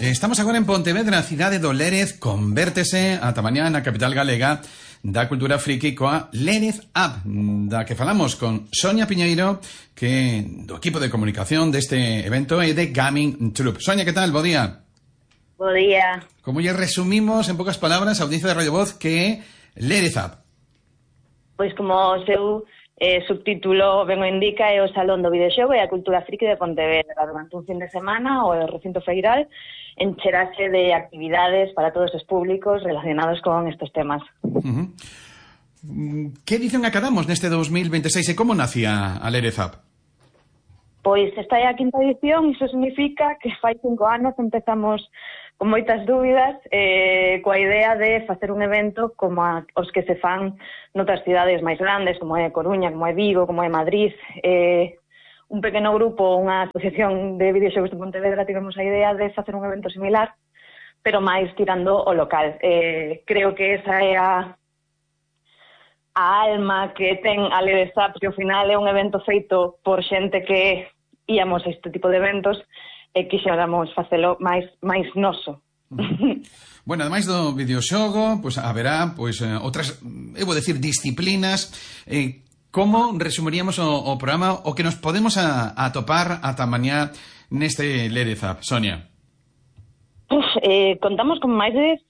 Estamos agora en Pontevedra, a cidade do Lérez convértese ata mañá na capital galega da cultura friki coa Lérez Up, da que falamos con Sonia Piñeiro, que do equipo de comunicación deste evento e de Gaming Troop. Sonia, que tal? Bo día. Bo día. Como lle resumimos en poucas palabras a audiencia de Radio Voz que é Lérez Up? Pois como o seu subtítulo ben o indica, é o Salón do Videoxogo e a Cultura Friki de Pontevedra. Durante un fin de semana, o recinto feiral encherase de actividades para todos os públicos relacionados con estes temas. Que edición acabamos neste 2026 e como nacía a Lérez Up? Pois esta é a quinta edición, iso significa que fai 5 anos empezamos con moitas dúbidas, coa idea de facer un evento como os que se fan noutras cidades máis grandes, como é Coruña, como é Vigo, como é Madrid. Un pequeno grupo, unha asociación de videoxogos de Pontevedra, tivemos a idea de facer un evento similar, pero máis tirando o local. Creo que esa é a alma que ten a Lérez Up, que ao final é un evento feito por xente que íamos a este tipo de eventos e quixéramos facelo máis noso. Bueno, ademais do videoxogo, pois haberá outras, eu vou decir, disciplinas. Como resumiríamos o programa, o que nos podemos atopar ata mañá neste Lérez Up, Sonia? Contamos con máis de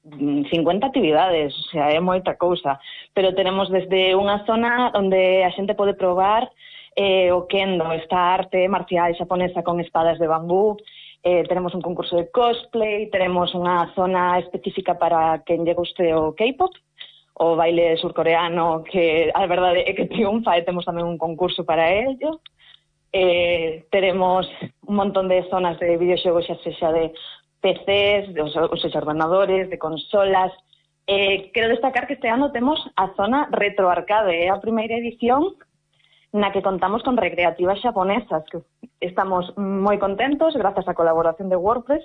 50 actividades, o sea, é moita cousa, pero tenemos desde unha zona onde a xente pode probar o kendo, esta arte marcial xaponesa con espadas de bambú. Tenemos un concurso de cosplay, tenemos unha zona específica para quen lle guste o K-pop, o baile surcoreano, que a verdade é que triunfa, e temos tamén un concurso para ello. Tenemos un montón de zonas de videoxogos, xa sexa de PCs, os ordenadores, de consolas. Quero destacar que este ano temos a zona retroarcade, é a primeira edición na que contamos con recreativas xaponesas, que estamos moi contentos, grazas á colaboración de WordPress,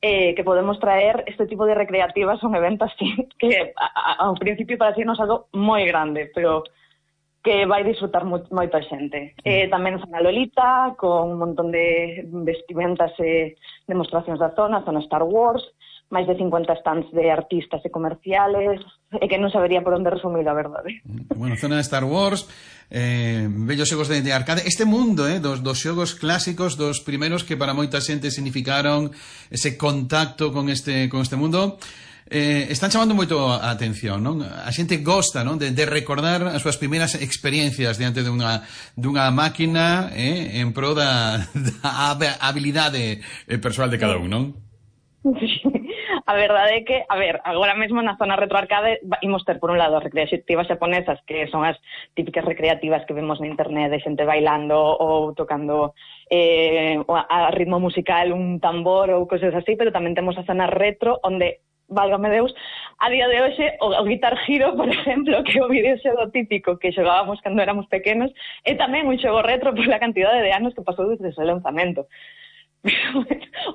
que podemos traer este tipo de recreativas a un evento así, que ao principio para si nos algo moi grande, pero que vai disfrutar moita xente. Tamén zona Lolita, con un montón de vestimentas e demostracións da zona Star Wars, máis de 50 stands de artistas e comerciales, e que non sabería por onde resumir, a verdade. Bueno, zona de Star Wars, bellos xogos de arcade, este mundo dos xogos clásicos, dos primeiros que para moita xente significaron ese contacto con este mundo, están chamando moito a atención, non? A xente gosta, non? De recordar as súas primeiras experiencias diante dunha máquina en pro da habilidade persoal de cada un, non? Sí. A verdade é que, agora mesmo na zona retroarcade imos ter, por un lado, as recreativas xaponesas, que son as típicas recreativas que vemos na internet de xente bailando ou tocando a ritmo musical un tambor ou cosas así, pero tamén temos a zona retro, onde, válgame Deus, a día de hoxe o Guitar Hero, por exemplo, que é o videoxogo típico que xogábamos cando éramos pequenos, é tamén un xogo retro pola cantidade de anos que pasou desde o seu lanzamento.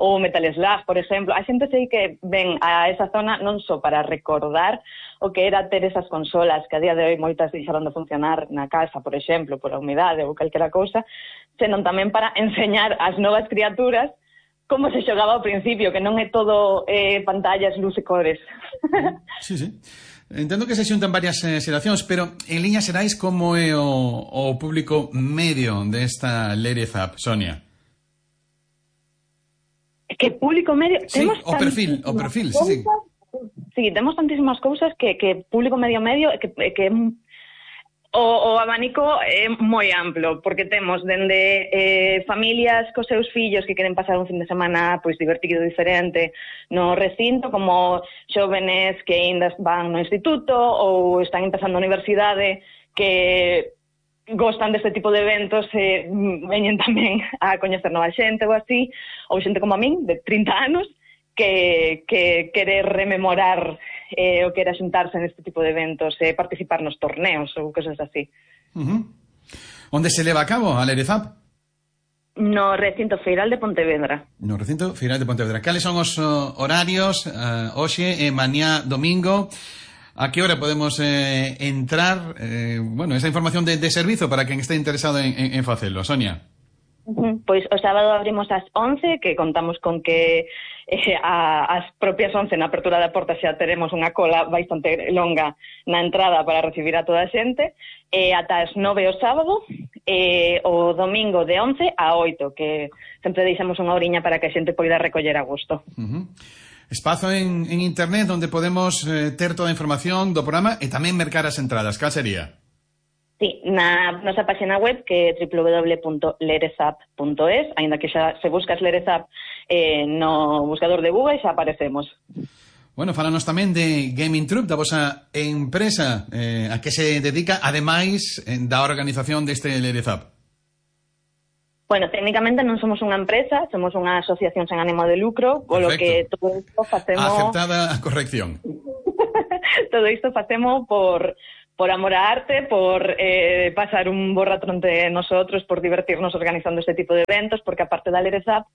Ou Metal Slug, por exemplo. A xente sei que ven a esa zona non só para recordar o que era ter esas consolas, que a día de hoy moitas deixaron de funcionar na casa, por exemplo, por a humidade ou calquera cousa, senón tamén para enseñar ás novas criaturas como se xogaba ao principio, que non é todo pantallas, luz e cores. Sí. Entendo que se xuntan varias xeracións, pero en liñas xerais como é o público medio desta Lérez Up, Sonia? Que público medio... Sí, o perfil, sí. Sí, temos tantísimas cousas que público medio que o abanico é moi amplo, porque temos dende familias cos seus fillos que queren pasar un fin de semana pois divertido e diferente no recinto, como xóvenes que ainda van no instituto ou están empezando a universidade, que gostan deste tipo de eventos e veñen tamén a coñecer nova xente ou así, ou xente como a min, de 30 anos, que quere rememorar o que era xuntarse neste tipo de eventos e participar nos torneos ou cosas así. Onde se leva a cabo a Lérez Up? No recinto feiral de Pontevedra. No recinto feiral de Pontevedra. Cales son os horarios hoxe e mañá domingo? A que hora podemos entrar? Esa información de servizo para quen este interesado en facelo, Sonia. Pois o sábado abrimos ás 11, que contamos con que as propias 11 na apertura da porta xa teremos unha cola bastante longa na entrada para recibir a toda a xente, ata as 9 o sábado, o domingo de 11 a 8, que sempre deixamos unha horiña para que a xente poida recoller a gusto. Espazo en internet onde podemos ter toda a información do programa e tamén mercar as entradas. Cal sería? Sí, na nosa página web, que é www.lerezap.es, aínda que xa se buscas Lerezap no buscador de Google xa aparecemos. Bueno, falanos tamén de Gaming Troupe, da vosa empresa a que se dedica, ademais da organización deste Lerezap. Bueno, técnicamente non somos unha empresa, somos unha asociación sen ánimo de lucro, polo que todo isto facemos... Aceptada a corrección. Todo isto facemos por amor á arte, por pasar un bo rato entre nosotros, por divertirnos organizando este tipo de eventos, porque aparte da Lerezap,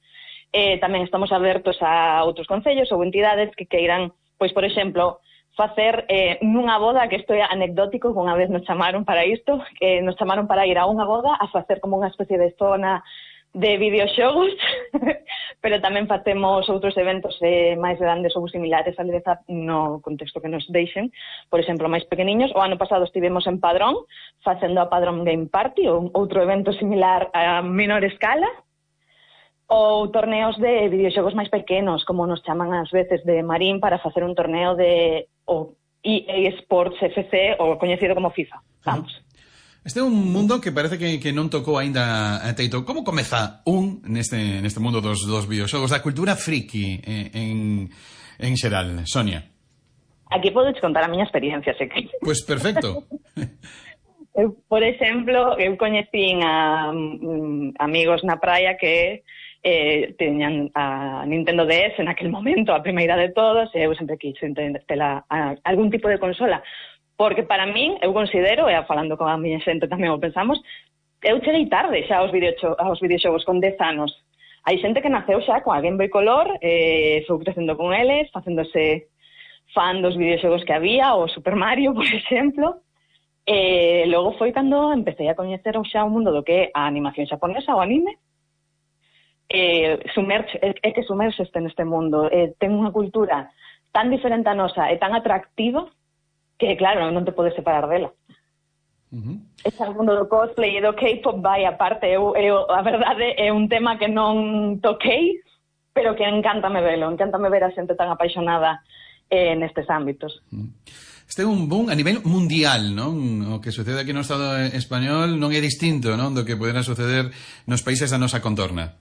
tamén estamos abertos a outros concellos ou entidades que queiran, pois, por exemplo, facer nunha boda, que isto é anecdótico, que unha vez nos chamaron para isto, que nos chamaron para ir a unha boda a facer como unha especie de zona de videoxogos, pero tamén facemos outros eventos máis grandes ou similares a Lerezap no contexto que nos deixen, por exemplo, máis pequeniños. O ano pasado estivemos en Padrón, facendo a Padrón Game Party, outro evento similar a menor escala, ou torneos de videoxogos máis pequenos, como nos chaman ás veces de Marín para facer un torneo de EA Sports FC, ou coñecido como FIFA, vamos. Este é un mundo que parece que non tocou aínda a Teito. Como comeza neste mundo dos videoxogos, da cultura friki en xeral, Sonia? Aquí podes contar a miña experiencia, sei que... Pois perfecto. Por exemplo, eu coñecín a amigos na praia que teñan a Nintendo DS naquel momento, a primeira de todos, e eu sempre quixen ter algún tipo de consola. Porque para min, eu considero, e falando con a miña xente tamén o pensamos, eu cheguei tarde xa aos videoxogos con 10 anos. Hai xente que naceu xa con a Game Boy Color, foi crecendo con eles, facéndose fan dos videoxogos que había, o Super Mario, por exemplo. Logo foi cando empecé a coñecer xa o mundo do que é a animación xaponesa, o anime. É que sumerxeste neste mundo, ten unha cultura tan diferente a nosa e tan atractiva que, claro, non te podes separar dela. Ese mundo do cosplay e do K-pop vai aparte. A verdade é un tema que non toquei, pero que encántame velo. Encántame ver a xente tan apaixonada nestes ámbitos. Este é un boom a nivel mundial, non? O que sucede aquí no Estado español non é distinto, non, do que poderá suceder nos países da nosa contorna.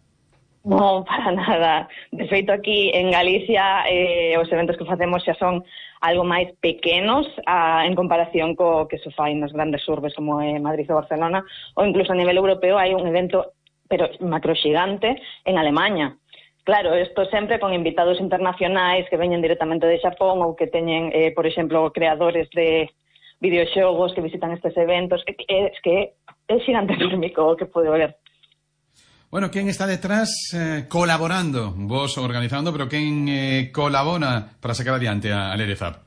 Non, para nada. De feito, aquí en Galicia os eventos que facemos xa son algo máis pequenos en comparación co que se fai nas grandes urbes como Madrid ou Barcelona, ou incluso a nivel europeo hai un evento pero macroxigante en Alemanha. Claro, isto sempre con invitados internacionais que veñen directamente de Xapón ou que teñen, por exemplo, creadores de videoxogos que visitan estes eventos. É que é xigante enormico o que pode ver. Bueno, quen está detrás colaborando? Vos organizando, pero quen colabora para sacar adiante a Lerezap?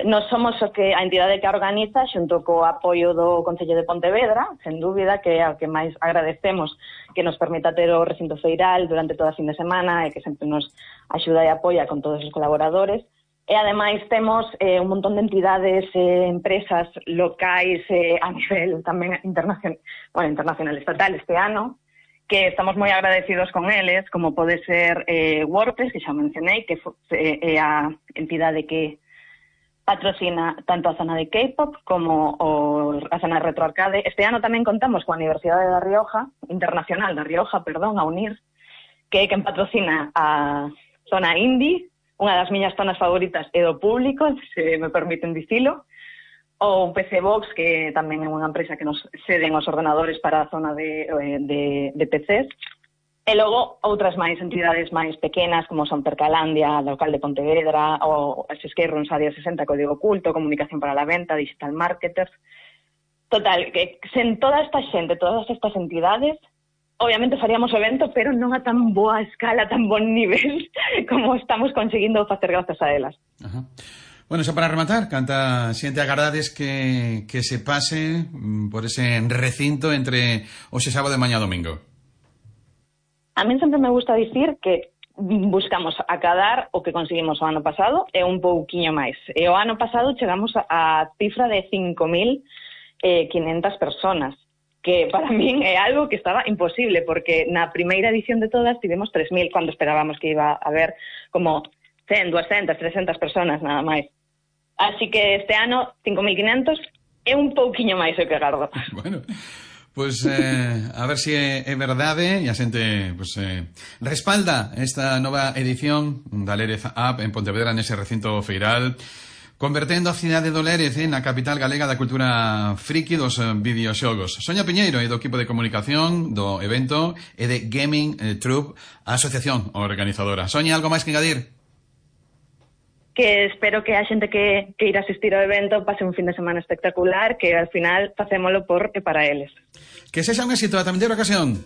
Nos somos a entidade que organiza xunto co apoio do Concello de Pontevedra, sen dúbida, que é o que máis agradecemos, que nos permita ter o recinto feiral durante toda a fin de semana e que sempre nos axuda e apoia con todos os colaboradores. E ademais temos un montón de entidades, empresas locais a nivel tamén internacional estatal este ano, que estamos moi agradecidos con eles, como pode ser WordPress, que xa mencionei, que é a entidade que patrocina tanto a zona de K-pop como a zona de retroarcade. Este ano tamén contamos coa Universidade da Rioja, Internacional da Rioja, a UNIR, que é quen patrocina a zona indie, unha das miñas zonas favoritas é do público, se me permiten dicilo, ou PC Box, que tamén é unha empresa que nos ceden os ordenadores para a zona de PCs, e logo outras máis entidades máis pequenas, como son Percalandia, local de Pontevedra, ou Esquerrons Área 60, Código Oculto, Comunicación para la Venta, Digital Marketers. Total, que sen toda esta xente, todas estas entidades, obviamente faríamos o evento, pero non a tan boa escala, tan bon nivel como estamos conseguindo facer grazas a elas. Ajá. Bueno, xa para rematar, canta xente agardades que se pase por ese recinto entre hoxe sábado e mañá domingo? A min sempre me gusta dicir que buscamos acadar o que conseguimos o ano pasado e un pouquiño máis. E o ano pasado chegamos a cifra de 5.500 personas, que para min é algo que estaba imposible, porque na primeira edición de todas tivemos 3.000, cando esperábamos que iba a haber como 100, 200, 300 personas nada máis. Así que este ano 5.500 é un pouquiño máis o que agardo. Bueno, pues a ver se é verdade e a xente pues, respalda esta nova edición da Lérez Up en Pontevedra nese recinto feiral, convertendo a cidade do Lérez na capital galega da cultura friki dos videoxogos. Sonia Piñeiro e do equipo de comunicación do evento e de Gaming Troupe, a asociación organizadora. Sonia, algo máis que engadir? Que espero que a xente que irá asistir ao evento pase un fin de semana espectacular, que al final facémolo por e para eles. Que sexa un éxito a tamén de ocasión.